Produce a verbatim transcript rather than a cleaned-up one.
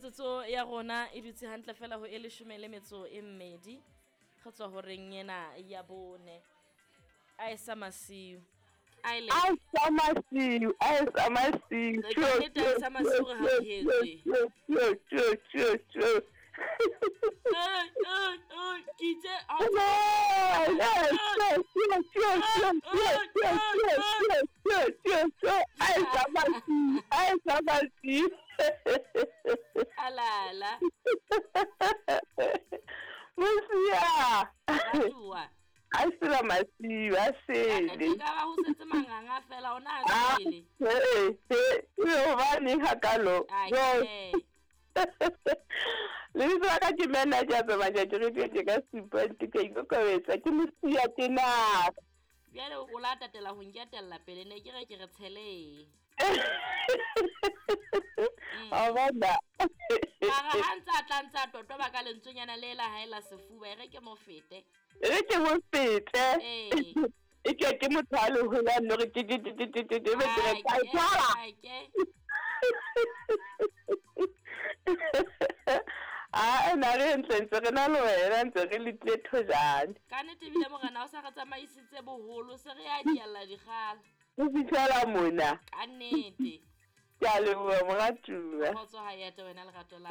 Metsotso ya rona e dutse hantle fela ho e leshome le metso e mmedi. Re tswa horeng ena ya bone. A e sa masiu. A ile. A sa masiu, a sa masiu. Ka nnete a e sa masiu re hauhetswe. Tjo, tjo, tjo, tjo. Ai, ai, ai, ke itse ha o alala. Mosia. Ratuwa. A sela masiu, a sele. Ka ka ba ho setse manganga fela ona a sele. Eh, eh, hobaneng hakalo? Ai. Lebitso la ka ke manager tsamaya ke re ke ka supa ke ikokobetsa ke mosia tena. Bjale o la tatela ho nketella pele ne ke re ke re tshele. A bona. Mara ha ntse a tla ntse a totoba ka lentswenyana le la hae la sefuba e re ke mo fete. E re ke mo fete. Eh. E ke ke motho a le holang no re ke ke ke ke ke ke be ke re ka tshwara. Ai ke. Ah, na re ntse ntse re na le wena ntse re letle thojane. Ka nnete ebile morena o sa re tsamaisitse boholo se re a dialla dikgala. O fihlela mona. Ka nnete. Ke a leboha moratuwa. Kgotso ha e ate wena lerato la.